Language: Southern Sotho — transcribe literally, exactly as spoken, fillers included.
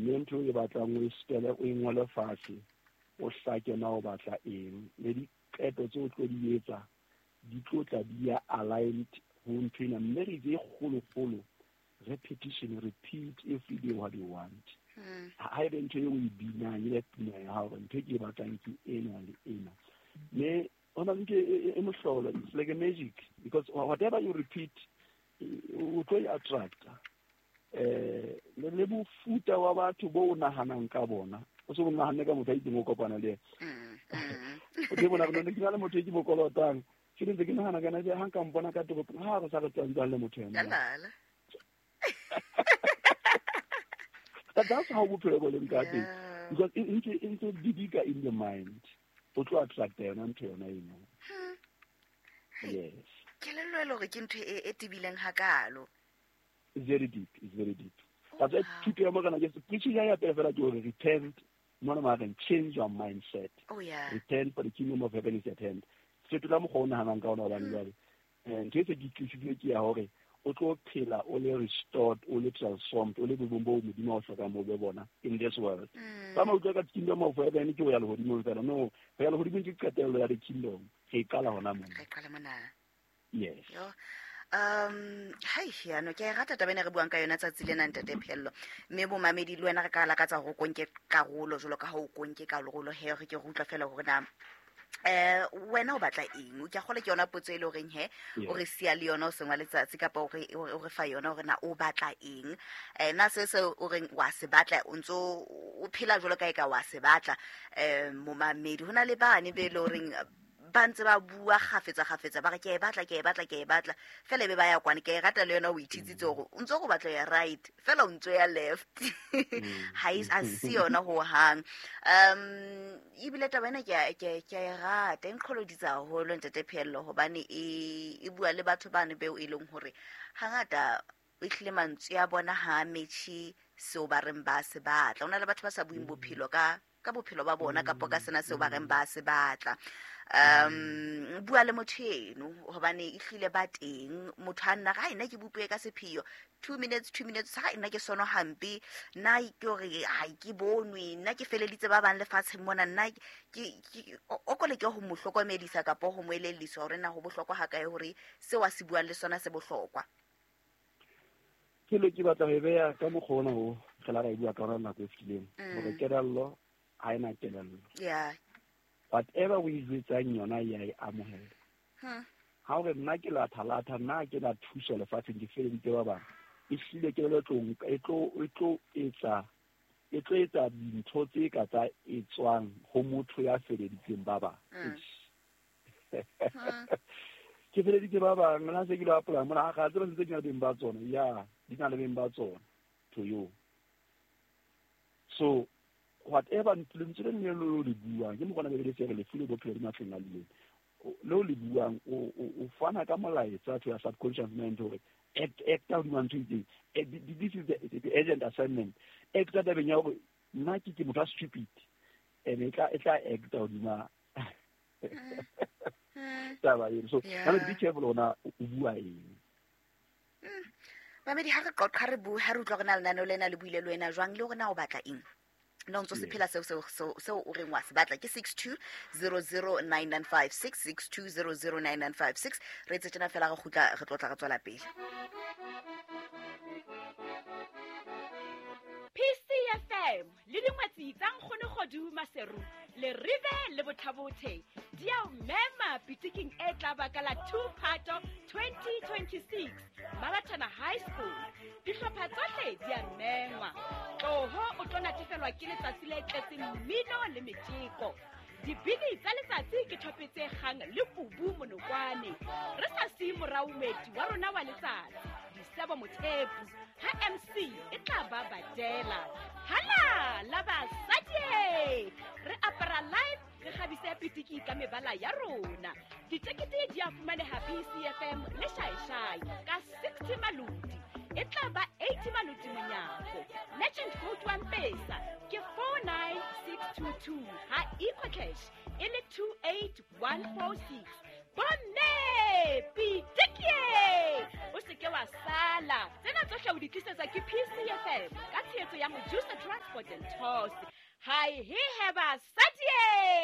Mme ntho e batlang o e spele o e ngole fatshe, o hlake na o batla eng, le diqeto tse o tlo di etsa di tlo tla di ya aligned ho ntho ena. Mme re itse e kgolokgolo, repetition, repeat every day what you want. Ha ebe ntho eo o e binang, e be pina ya hao, ntho e ke e batlang ke ena le ena. Mme ho na le ntho e e mohlolo, it's like a magic, because whatever you repeat, o tlo e attracta. Eh, le le mofuta wa batho bo o nahanang ka bona, o se o nahanne ka motho a itseng o kopana le Mm, yena. mm. O tlo bona gore ne ke na le motho e ke mo kolotang, ke ntse ke nahana kana ha nka mpona ka toropong, ha re sa re tswang le motho ena. Yalala. But that's how bophelo bo leng ka teng. Yeah. Because e ntse e ntse didika in the mind, o tlo attracta yona ntho yona eno. Hmm. Yes. Kelello e le hore ke ntho e, e tebileng hakalo. It's very deep, it's very deep. Oh, That's why wow. thuto ya Morena Jesu, preaching ya ya pele fela ke hore repent, mona ma reng, change your mindset. Oh, yeah. Repent for the kingdom of heaven is at hand. Fetola mokgwa o nahanang ka ona hobane Hmm. jwale, eh, ntho e se ke tlisitswe ke ya hore o tlo phela o le restored, o le transformed, o le boemong bo Modimo a o hlokang bo be bona in this world. Mm. Ba ma utlwa ka kingdom of heaven ke ho ya lehodimong fela. No, ho ya lehodimong ke qetello ya the kingdom. Re e qala hona mona. Re e qala mona. Yes. Yo. Um, hai, ya no, ke a e rata taba ena re buang ka yona tsatsi lena, Ntate Pheello. Mme bomamedi le wena re ka lakatsa hore o konke karolo jwalo ka ha o konke karolo he, re ke re utlwa fela hore na, eh, wena o batla eng? Ke a kgolwa ke yona potso e le horeng he, o re siya le yona o seng wa letsatsi kapa o re, o re, o re fa yona hore na o batla eng? Eh, na se se o reng wa se batla, o ntso o phela jwalo ka eka wa se batla. Eh, momamedi, ho na le bane be le horeng ba ntse ba bua kgafetsa kgafetsa, ba re ke a e batla, ke a e batla, ke a e batla. Fela ebe ba ya kwane, ke a e rata le yona o ithitsitse hore o ntso go batla ya right, fela o ntso ya left. Ha e, ha se yona ho hang. Um, ebile taba ena ke a, ke a, ke a e rata, e nqholoditse haholo Ntate Pheello, hobane e, e bua le batho bane beo e leng hore hangata ehlile mantswe a bona ha a metjhe seo ba reng ba se batla. Ho na le batho ba sa bueng bophelo ka, ka bophelo ba bona kapa ka sena seo ba reng ba se batla. Um, bua le motho eno hobane ehlile ba teng. Motho a nna re, hai, nna ke bopuwe ka sepheo, two minutes, two minutes, ha nna ke sono hampe, nna ke hore ha ke bonwe, nna ke feleditse ba bang lefatsheng mona, nna ke, ke, o, o ko leke ho mo hlokomedisa kapa ho mo elelliswa hore na ho bohlokwa ha kae hore seo a se buang le sona se bohlokwa. Ke le ke batla ho e beha ka mokgwa ona o re la ra e bua ka ona nako e fetileng, Mm. hore kelello ha ena kelello. Yeah. Whatever o e jwetsang yona ya e amohela. Hmm. Ha o re nna ke latha-latha, nna ke na thuso lefatsheng, ke feleditse ba bang, ehlile kelello e tlo nka, e tlo, e tlo etsa, e tlo etsa dintho tse ka tsa etswang ho motho ya feleditseng ba bang. Hmm. Eish. Hmm. Ke feleditse ba bang, nna se ke lo apply mona, ga tseba sentse di na le beng ba tsona. Ya, di na le beng ba tsona to you. So whatever lentswe le leng le o le buang, ke mokgwa ona Bibele e re lefu le bophelo di matleng a leleme. Le o le buang, o, o, o fana ka molaetsa to your subconscious mind hore act, act ka hodima ntho e itseng. Eh, thi-, thi-, this is the, the, the urgent assignment. Act ka tabeng ya hore nna ke, ke motho a stupid, and e tla, e tla act hodima Mm. taba eno. So, Yeah. jwale be careful hore na o bua eng. Mm. Mamedi, ha re qoqa, ha re bue, ha re utlwa hore na lenaneo lena le buile le wena jwang, le hore na o batla eng. Na o ntso se Yes. phela seo, seo, seo, seo o reng wa se batla. Ke six two zero zero nine nine five six, six two zero zero nine nine five six. Re etse tjena fela re kgutla, re tlotla re tswela pele. P C F M le dingwetsi tsa Nkgono Kgodu Maseru, Leribe le Bothabothe di a o mema pitiking e tla ba ka la two Phato twenty twenty-six Mabatana High School. Dihlopha tsohle di a mengwa. Tloho o tlo natefelwa ke letsatsi le tletseng mmino le metjeko. Dibini tsa letsatsi ke thope tse kgang le kubu monokwane. Re sa siye morao moeti wa rona wa letsatsi, Disebo Mothepu, ha M C e tla ba badela. Hala la basadi! Re apara live, re kgabise pitiki ka mebala ya rona. Ditekete di a fumaneha P C F M le Shaeshai ka sixty maloti. E tla ba eighty maloti monyako. Legend code wa Mpesa ke four nine six two two, ha EcoCash e le two eight one four six. Bomme, pitiki! O se ke wa wa sala. Tsena tsohle o di tlisetswa ke P C F M ka tshehetso ya Mojusa Transport and Tours. Hai he he basadi!